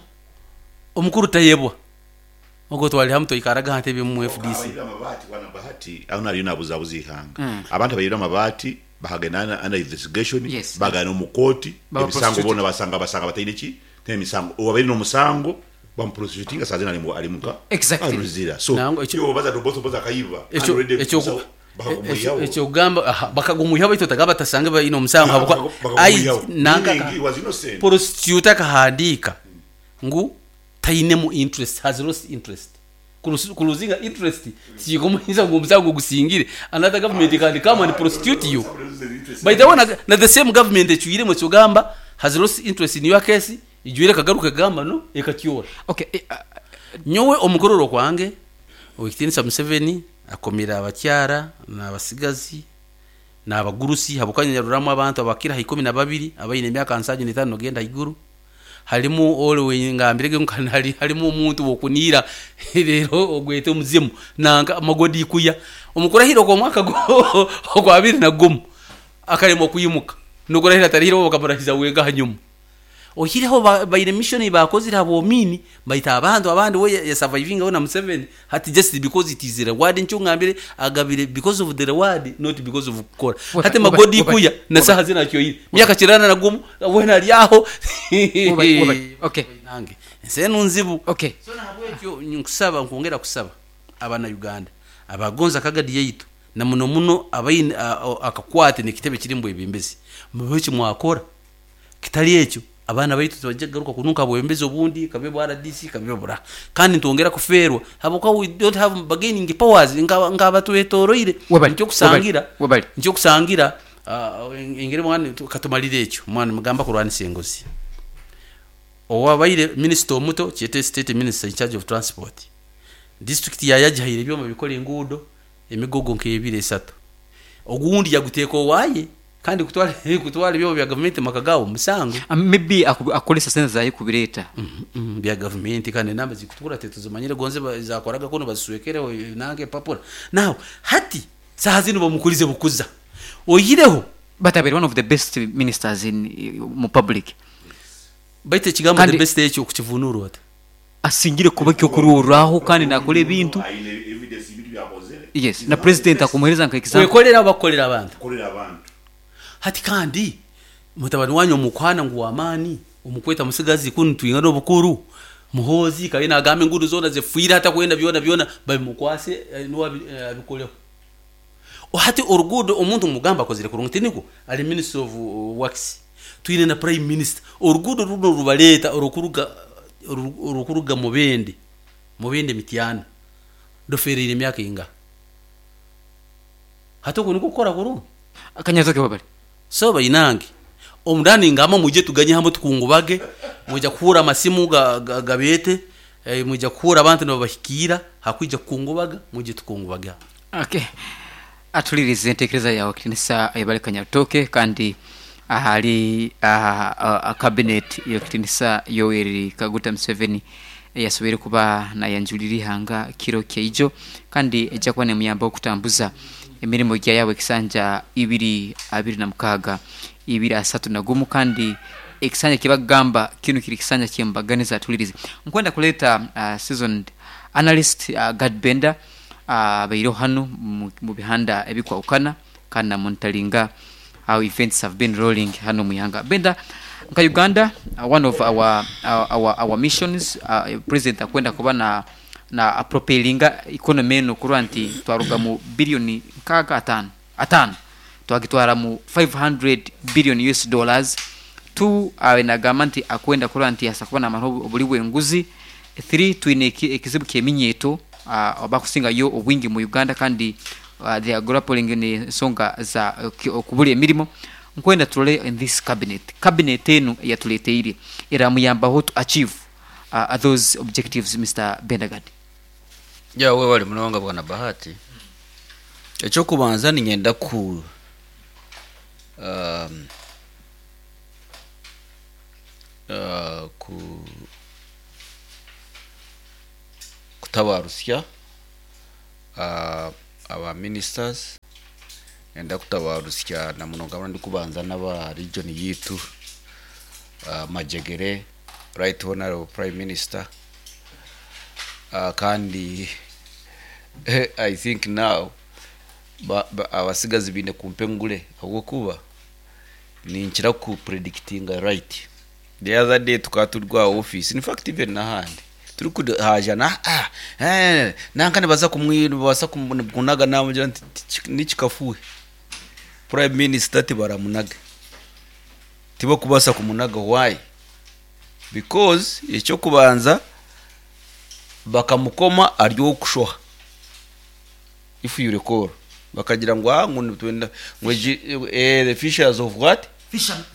omukuru Tayebwa ogwo twali hamu twaikaraga aha ntebe emu mu FDC. Abaibire amabaati bwana Bahati aho nariyo nabuzabuza eihanga. Abantu abaibire amabaati bakagenda under investigation Yes. bagenda omu kooti Baba emisango prosecuted. boona basanga basanga bataine ki bataine misango. Owabaire nomusango bamuprosecutinga saaha zinu ari muka Exactly. ari Luzira. So Nangwa ekyo iwe obaza nti Oboth Oboth akaiba kandi ekyo already ekyo omusawo bakagumwihaho. ekyokugamba aha bakagumwihaho baitu otagamba batasange baine omusango habwokuba ai Bakagumwihaho. nanka Meaning he was innocent. prosecutor akahandiika ngu tainemu interest, has lost interest. Kuluzinga interest tikikumuhiza ngu omusango gusingire another government can come and prosecute you. By the way, na, na the same government ecwiremu ekigamba has lost interest in your case, ijwire ekagaruka ekagamba no ekakyora. Okay, Nyowe omukurora okwange, Owekitinisa Museveni akomire abakyara n'abasigazi n'abagurusi habwokuba nyaroramu abantu abakira ha 12 abaine emyaka 75 nogenda haiguru. Harimu ori wengambirege ngu harimu omuntu wokuniira reero ogwete omuzimu nanka magodi ikuya omukurahira okw'omwaka ogwa 2001 akaremwa kwimuka n'okurahira atarahire bakamurahiza wenka hanyuma. Oihireho baine mission ei baakozire habw'omiini baitu abantu abandi we yasavaivingaho na Museveni hati just because it is reward nikyo ngambire agabire because of the reward not because of kukora. Hati magodi ikuya na saaha zinu akyoire myaka 81 weena ari aho. Okay. Nange ensi enu nzibu. Okay. So nahabwekyo nkusaba nkwongera kusaba abana Uganda abagonza kagadi yaitu na muno muno abaine akakwate n'ekitebe kiri omu bwebembezi mube eki mwakora kitari ekyo abaana baitu tibaija kugaruka kununka bwebembezi obundi kabe bwa RDC kabe bura kandi nitwongera kufeerwa habwokuba we don't have bargaining powers nk'abatwetoroire. Webale, Nikyo kusangira webale, webale. nikyo kusangira engeri mwana katumalire ekyo mwana mugamba kurwanisa enguzi. Owabaire minisita omuto kyete state minister in charge of transport district yayagihaire ebyoma bikora enguudo emigogo nk'ebiri esatu ogundi yaguteeka owaye kandi kutwara kutwara ebyoma bya gavumenti maka gaabo musango. Maybe akoresa sente zaye kubireeta. Bya gavumenti kandi enamba zikutukura tetuzimanyire gonze zakoraga kunu baziswekereho nange empapura. Now hati saaha zinu bamukurize bukuza oihireho. But abaire one of the best ministers in mu public. Baitu ekigambo Kandi the best ekyo okukivunura ota? Asingire kuba ekyokurorraho kandi nakora ebintu. Aine evidence ebintu byakozere. Yes, na president akumuhereza nka example. Kwekorera oba kukorera abantu? Kukorera abantu. Hati kandi mutabani wanyu omukuhana ngu w'amaani omukweta musigazi kunu twingana obukuru Muhoozi kabe nagamba enguudo zoona zifiire hati akwenda byona byona babimukwase nuwe abikoleho. Hati oruguudo omuntu mugamba akozire kurungi tinikwo? Ari minister of works twine na prime minister oruguudo runo rubaleeta orukuruga Mubende Mubende Mityana rufeereire emyaka eingaha? Hati oku nikwo kukora kurungi? Akanyatoke webale. So bainange omundani ngamba mwije tuganye hamwe tukungubage mwija kuhura amasimu gabeete mwija kuhura abantu nibabahikiira hakwija kukungubaga mwije tukungubaga. Okay. Atulirize entekereza yawe kitinisa Ayebare Kanyatoke kandi ahali cabinet y'ekitinisa Yoweri Kaguta Museveni yasoboire kuba nayanjulira ihanga kiro kyaijo kandi ejja kuba nemuyamba okutambuza emirimo gya yawe ekisanja ibiri abiri na mukaaga ibiri asatu na gumu kandi ekisanja kibagamba kinu kiri kisanja kyembaganiza. Atulirize nkwenda kuleeta seasoned analyst Gad Bender abaireho hanu mu bihanda ebikwahukana kandi namonitoringa how events have been rolling hano mu ihanga. Bender, nka Uganda, one of our missions, president akwenda kuba na propelinga economy eno kurwa nti twaruga mu billioni nkaaga atano atano twagitwara mu 500 billion US dollars. 2, nagamba nti akwenda kurwa nti asa kuba namara obuli bw'enguzi. 3, twine ekizibu ky'eminyeeto abakusinga yo obwingi mu Uganda kandi they are grappling n'ensonga za okubura emirimo. Nkwenda turole in this cabinet enu eyatuleteire eramuyambaho to achieve those objectives, Mr. Bendagadi. Ya webale munonga, bwana Bahati. Ekyokubanza ninyenda ku ku kutabarusya aba ministers, enda kutabarusya na munonga ndi kubanza n'aba region yitu, Majegere, Right Honorable Prime Minister, kandi I think now abasigazi bine kumpengule ahabwokuba ninkira ku predictinga right. The other day tukaba turi kwa office, in fact even n'ahandi turi kuhaja na nanka nibaza kumwi, nibaza kunaga, namugira nti nikikafuhe Prime Minister tibaramunaga, tibakubasa kumunaga. Why? Because ekyokubanza bakamukoma ari okushoha. If you recall, bakagira ngu ngu nitwenda ngo the fishers of what? Fisher,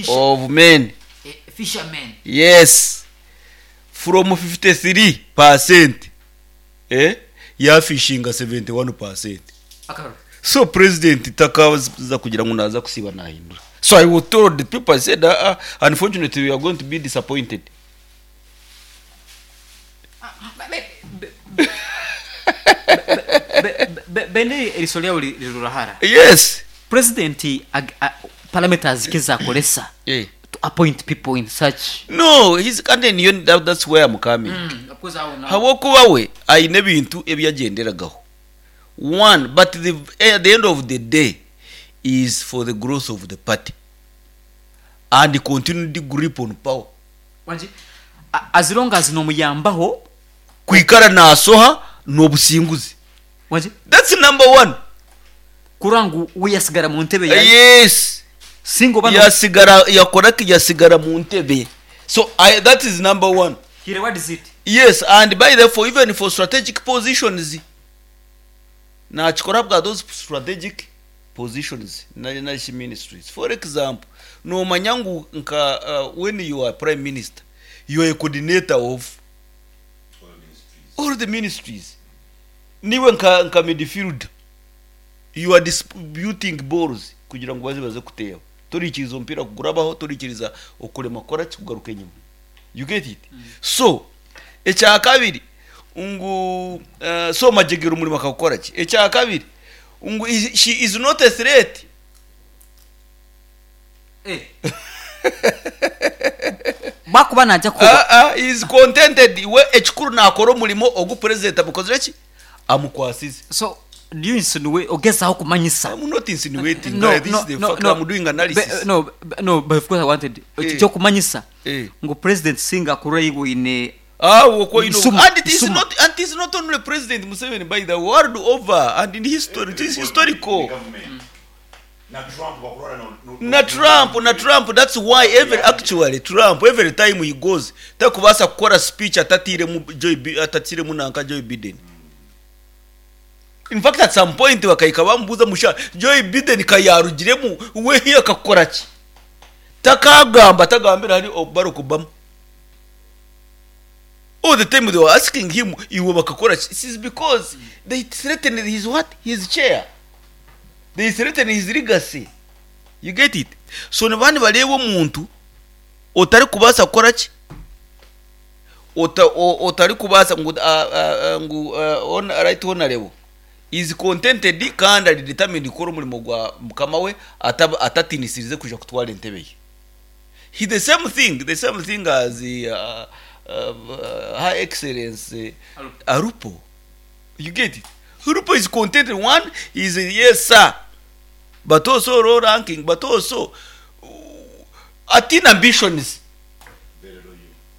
of men. Fishermen. Yes, from 53% yafishinga 71%. Akaro. So president takaza kugira ngo naza kusiba nahindura. So I was told, the people said, unfortunately we are going to be disappointed. Bende eriso lyawe lirurahara. Yes. President parameters kizakolesa to appoint people in such No, he's kandi niyo that's where I'm coming. Of course, I will now. Habwokuba we ayine ebintu ebyagenderagaho one, but at the end of the day is for the growth of the party and continued grip on power. Wanji, as long as nomuyambaho kwikara nasoha n'obusinguzi. Wanji. That's number one. Kurangu we yasigara mu ntebe ya Yes. Singo bano. Yasigara yakora yasigara mu ntebe. So that is number one. Here, what is it? Yes, and by therefore even for strategic positions nakikora bwa those strategic positions na ministries. For example, nomanya ngu nka when you are prime minister, you are a coordinator of all the ministries. Niwe nka midfield, you are distributing balls kugira ngo baze kuteba, turikiriza umupira kugurabaho, turikiriza okurema kora kugaruka enyuma. You get it? So ekya kabiri ngu so Majegere umurimo akakora ki? Ekya kabiri ngu she is not a threat. Bakuba najya kuba He is contented. We ekikuru nakora omurimo ogu president amukozire ki amukwasize. So do you insinuate ogezaho kumanyisa? I'm not insinuating. No, This no, is the no, fact. no. I'm doing analysis. No, no, but of course I wanted cyo kumanyisa ngo president singa kurayigwine. Woko, you know, Isuma, and it is Isuma. not, and it is not only President Museveni, by the world over and in history, it is historical. Na Trump, that's why every, actually Trump, every time he goes, takubasa kukora speech atatiremu Joe atatiremu nanka Joe Biden. In fact, at some point bakayika bamubuza musha Joe Biden kayarugiremu we akakora ki, takagamba tagambira hari Barack Obama. All the time they were asking him, iwe bakakora ki? It is because they threatened his what? His chair. They threatened his legacy. You get it? So nibandi bareba omuntu otari kubasa kukora ki, otari kubasa ngu ngu on right honorable is contented kandi ari determined gukora umurimo gwa mukama we atatinisirize kuja kutwara entebe ye. He the same thing as Her Excellence Arupo. You get it? Arupo is contented. One is yes sir, but also low ranking, but also atina ambitions,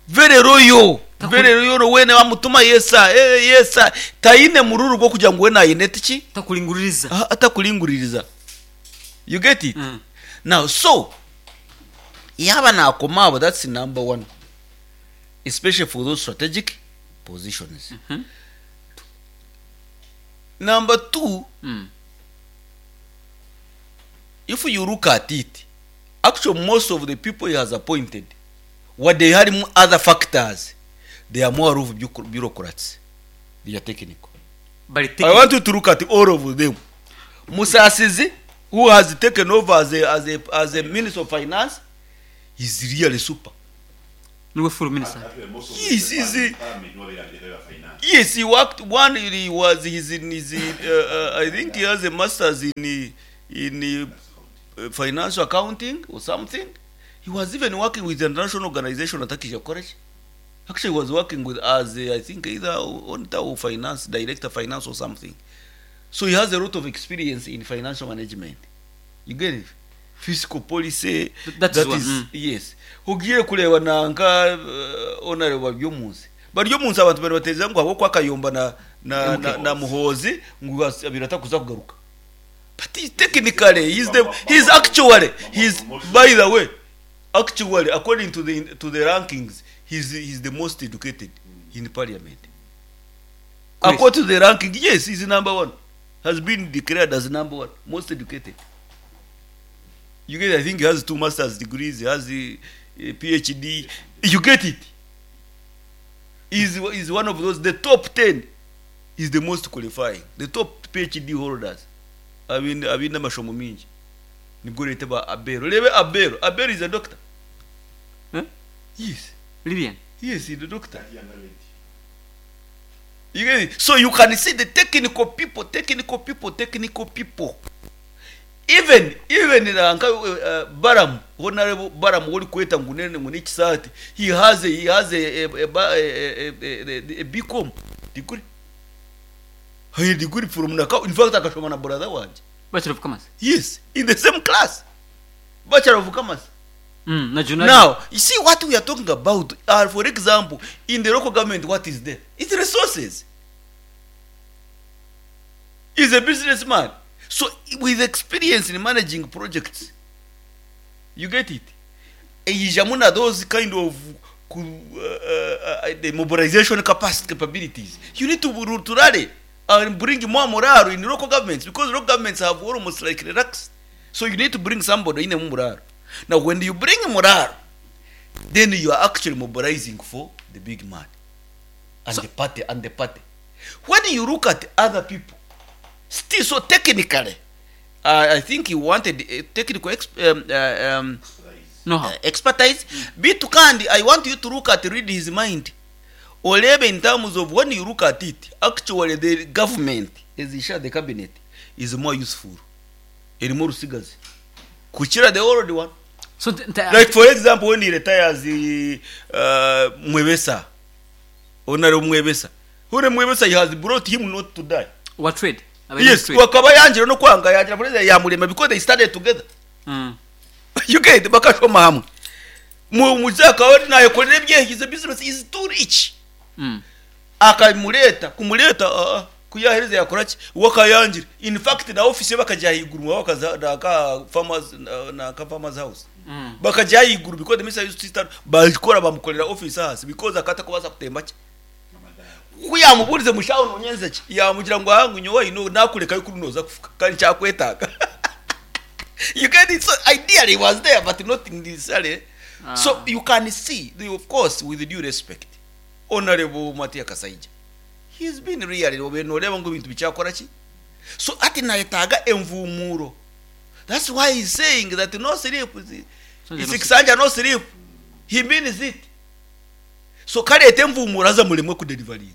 very loyal, very loyal. Wene wamutuma, yes sir, yes sir, taine mururu gwo kugira ngo we nayinete ki Takulinguririza. Atakulinguririza. You get it? Mm. Now, so yaba nakomabo, that's number one, especially for those strategic positions. Number two, if you look at it, Actually, most of the people he has appointed, wadde harimu other factors, they are more of bureaucrats. They are technical. Bari I technical. want you to look at all of them. Musasizi, who has taken over as a minister of finance, is really super. Niwe full minister. Yes, yes, he worked one. He was he's in his. I think he has a master's in financial accounting or something. He was even working with the international organization at Acacia College. Actually, he was working with as a, I think either auditor or finance director, finance or something. So he has a lot of experience in financial management. You get it? Fiscal policy. That is one, is yes. Ugiye kureba nanka honorable Baryomunsi. Baryomunsi abantu bari bateza ngo abo kwa Kayumba na Muhozi ngo birata kuza kugaruka. But he, technically he's actually he's by the way, actually according to the rankings, he's the most educated in parliament. Chris. According to the ranking, yes, he's number one. Has been declared as number one, most educated. You get, I think he has two master's degrees, he has a PhD. You get it? He's one of those, the top 10 is the most qualifying. The top PhD holders. Abin amashomo mingi. Nibwo leta ba Abel. Rebe Abel. Abel is a doctor. Huh? Yes. Lilian. Yes, he's a doctor. You get it? So you can see the technical people, technical people, technical people. Even nanka Baram, Honorable Baram ori kweta ngu nene ngu n'ekisaati, he has a BCom degree. A degree from Naka. In fact, akashoma na brother wanje. Bachelor of Commerce. Yes, in the same class. Bachelor of Commerce. Na journalism. Now, you see what we are talking about are, for example, in the local government, what is there? It's resources. He's a businessman. So, with experience in managing projects, you get it? Ijamuna those kind of the mobilization capacity capabilities. You need to rally and bring more morale in local governments because local governments have almost like relaxed. So you need to bring somebody in a morale. Now, when you bring morale, then you are actually mobilizing for the big man and the party and the party. When you look at other people, still so technically, I think he wanted a technical Know how. Expertise. Bitu kandi, I want you to look at read his mind. Orebe in terms of when you look at it, actually the government, as he shared the cabinet, is more useful. Erimu rusigazi. Kukira the old one. So Like for example, when he retires the Mwebesa, Honorable Mwebesa, Honorable Mwebesa, he has brought him not to die. Wa trade. Yes, trade. wakaba yangira no kwanga yangira president yamurema because they started together. You get it? Bakashoma hamwe. Mu muzaka we nayekorera ebye, his business is too rich. Akamureta kumureta kuyahereza yakora ki wakayangira. In fact, na office ye bakajya higuru bakaza na ka farmers na ka farmers house. Bakajya higuru because the minister used to start bakora bamukorera office hasi because akata kubaza kutemba ki kuyamuburize mushaho nonyenze ki yamugira ngo ahangu nyowe ino nakureka yuko unoza kufuka kandi cyakwetaga. You get it? So ideally it was there, but not in this area. So you can see of course, with due respect, Honorable Matia Kasaija, he's been really noreba ngo ibintu bicyakora ki. So ati nayetaga emvumuro. That's why he's saying that no sleep. So It's no Kisanja no sleep. He means it. So karete emvumuro aza mulemwe kudeliveringa.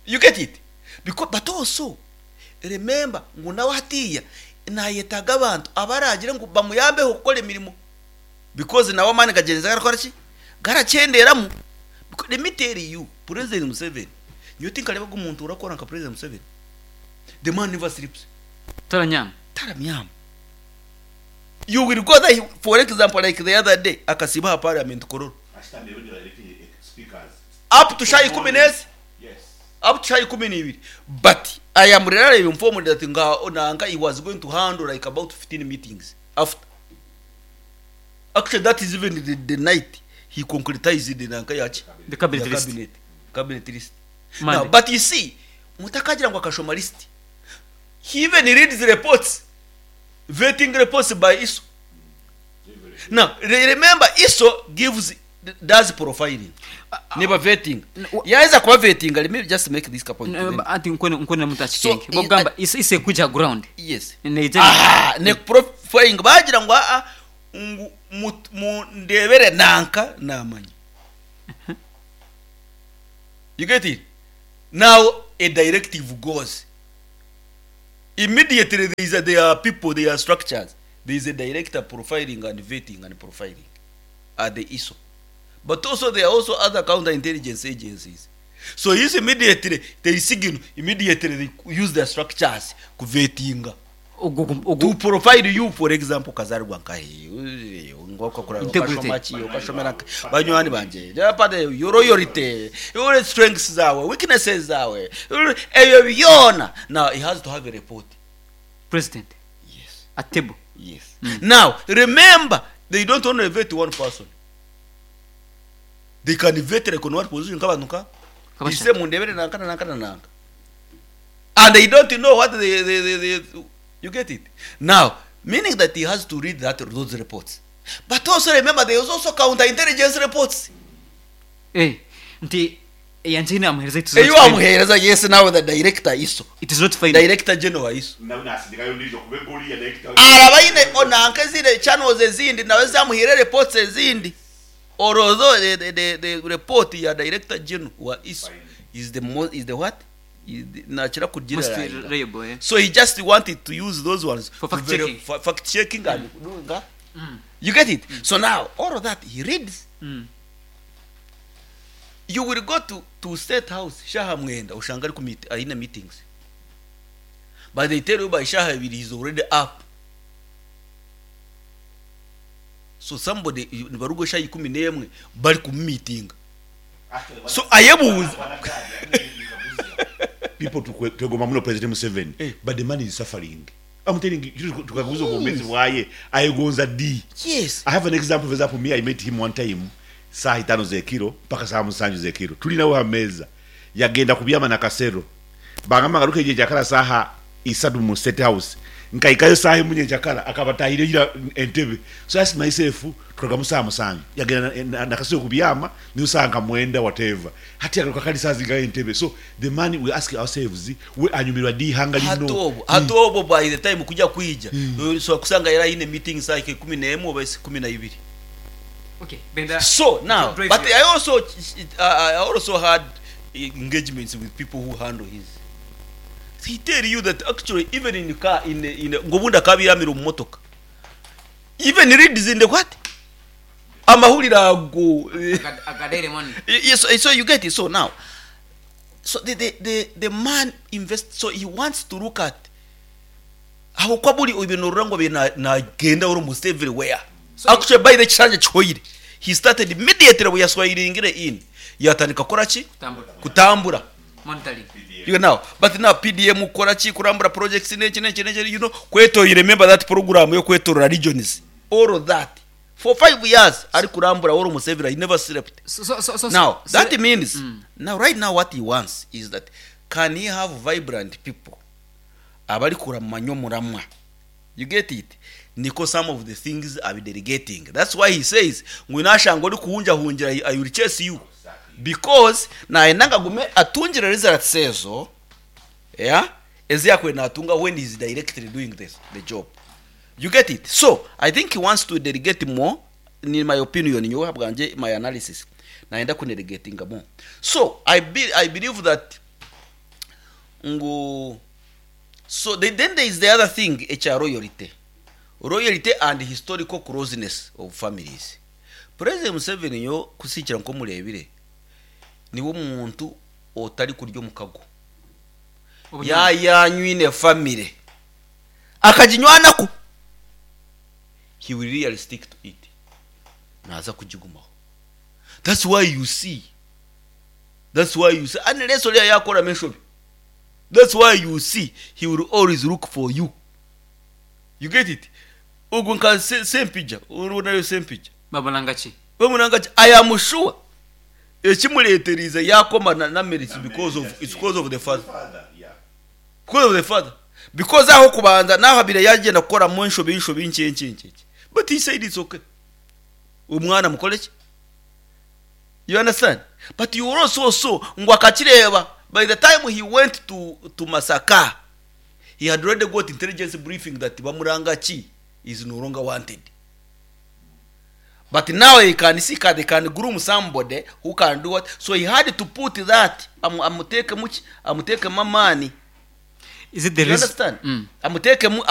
You get it? Because but also remember ngu nawe hatiya nayetaga abantu abaragira ngu bamuyambeho gukora emirimo because nawe amani gagenza garakora ki garacyenderamu. Because let me tell you, President Museveni, you think areba umuntu urakora nka President Museveni, the man never sleeps. Taranyama. Taramyama. You will go there, for example, like the other day akasiba parliament Kololo up to shy 10 up to shy 12, but I am really informed that nga nanga he was going to handle like about 15 meetings after. Actually, that is even the night he concretized the nanka yachi The cabinet the list. Cabinet list. Monday. Now, but you see, mutakagira ngo akashoma list, he even reads reports, vetting reports by ISO. Now remember, ISO gives, does profiling, neba vetting, yaiza kuba vetting. Let me just make this point. Anti nkwene muntu akikenge. So, Bogamba ise kuja ground. Yes. Neija. Ah, ne profiling bagira ngo a ngu mundebere nanka namanya. You get it? Now a directive goes immediately. There are people, there are structures, there is a director profiling and vetting and profiling at the ISO, but also there are also other counterintelligence agencies. So is immediately they signal, immediately they use their structures kuvetinga, to profile you. For example, kazarwa nkahe ngokakura, Integrity. ukashomaki, ukashomera banywani banje japade, your loyalty, your strengths zawe, weaknesses zawe, ebyo byona. Now he has to have a report. President. Yes. At table. Yes. Now remember, they don't only vet one person, they can vet like on one position nk'abantu nka Kabasha. ise mundebere nanka na nanka na nanka, and they don't know what they, you get it? Now, meaning that he has to read that those reports, but also remember, there is also counterintelligence reports. Nti yanje namuhereza, it is not Eyo final. amuhereza, yes. Now the director ISO, It is not final. Director general ISO araba yine onanka ezindi channels ezindi nawe zamuhire reports ezindi, although the report ya director general wa ISO is the most, is the what, is the, nakira kugira. Most reliable, eh? So he just wanted to use those ones For to fact checking. for fact checking and doing that. You get it? So now all of that he reads. You will go to State House shaha mwenda, ushanga ari ku aine meetings, but they tell you by shaha ibiri he's already up. So somebody barugo shaha 11 bari ku meeting, so ayebuza. People twegomba muno President Museveni, but the man is suffering. I'm telling you, tukaguza obwomezi bwaye ayegonza d. Yes. I have an example. For example, me, I met him one time saa 5 zekiro mpaka saa 7 zekiro, tulinawo hameza, yagenda kubyama na Kasero, bagamba ngaruka eje jakala saha 3 mu State House, nkaikayo saha emunye jakala akabatahire ira Entebe. So I asked myself, tukaga saa 7 yagenda na Kasero kubyama, niyo saa nka 9 whatever, hati agaruka kali saa zinga Entebe. So the man, we ask ourselves, we anyumirwa di hanga lino? Hatobo hatobo, by the time kujya kwija, so kusanga era ine meeting saa 11 oba 12. Okay, Benda. So now, Drive but you. I also had engagements with people who handle his. He tell you that actually even in the car, in the, ngo bundi akabiramira mu motoka, even reads in the what, amahuriro ago. Agadere money. Yes, so you get it. So now, so the man invest, so he wants to look at aho kwa buri ibintu rura ngo nagenda almost everywhere. Actually, by the kisanja kihoyire, he started immediately we yaswayiringire in, yatandika kora ki? Kutambura. Kutambura. Monitoring. You know, but now PDM kora ki, kurambura projects neki neki neki, you know, kweto, you remember that program yo kwetorora regions, all of that for 5 years ari kurambura almost everywhere. He never slept. So Now so, that means now, right now, what he wants is that can he have vibrant people abari kuramanya muramwa. You get it? Niko some of the things are delegating. That's why he says ngwinashanga uri kuhunjahungira, I will chase you, because nayenanga gume atungire results ezo, yeah, eziyakwe natunga when he's directly doing this the job. You get it? So I think he wants to delegate more. In my opinion, nyowe bwanje, my analysis, naenda kudelegatinga more. So I believe that ngo so then there is the other thing ekya royalty, royalty and historical closeness of families. President Museveni yo kusikira nko murebire, niwe muntu otari kurya omukago yayanywine family akaginywanako, he will really stick to it, naza kugigumaho. That's why you see unless oliya yakora enshobi, that's why you see he will always look for you. You get it? Ogwo nka Sempija, urunayo Sempija. Babalanga ki? Bamunanga ki? I am sure ekimuleeterize yakoma na merits because of, it's because of the father, because of the father, because aho kubanza naho abire yagenda kukora mu enshobi enshobi nkenkenkenke, but he said it's okay. Omwana mukole ki? You understand? But you also saw ngu akakireba, by the time he went to Masaka, he had already got intelligence briefing that Bamurangaki is no longer wanted. But now he can see they can groom somebody who can do what. So he had to put that amuteke muki, amutekemu amaani. Is it the You reason? understand? Amutekemu.